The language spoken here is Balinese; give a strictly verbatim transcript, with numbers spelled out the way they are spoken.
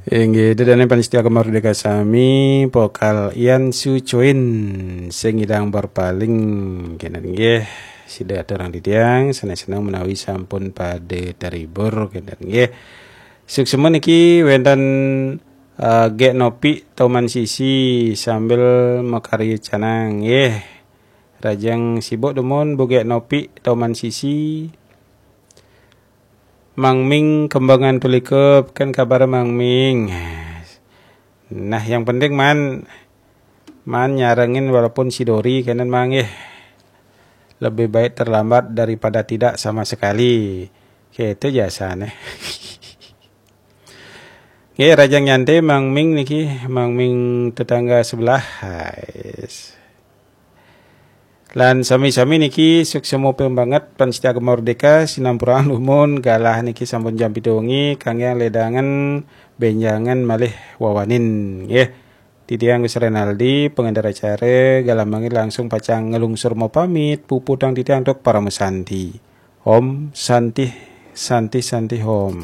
Inggih, dedane panitia Gema Merdeka sami, pokal Ian Su Choi sing ilang berpaling kenten nggih. Sida aturang titiang seneng-seneng menawi sampun pada terhibur kenten nggih. Suksma niki wenten uh, Gek Nopi Toman Sisi sambil makarya canang nggih. Rajang sibuk dumun Bu Gek Nopi Toman Sisi. Mang Ming Kembangan Tulikup, kan kabar Mang Ming? Nah, yang penting man man nyarengin walaupun sidori kenten Mang nggih. Lebih baik terlambat daripada tidak sama sekali. Gitu jasane. Nggih, rajang nyantai Mang Ming niki, Mang Ming tetangga sebelah. Hai. Lan sami-sami niki suksma banget panitia Gema Merdeka, sinampurang dumun galah niki sampun jam pitu wengi, kangge ledangen benjangan malih wawanin nggih. Titiang Gus Renaldi, pengendara acara, galah mangkin langsung pacang ngelungsur mapamit, puputang titiang tuk parama santi. Om Santi, Santi, Santi Om.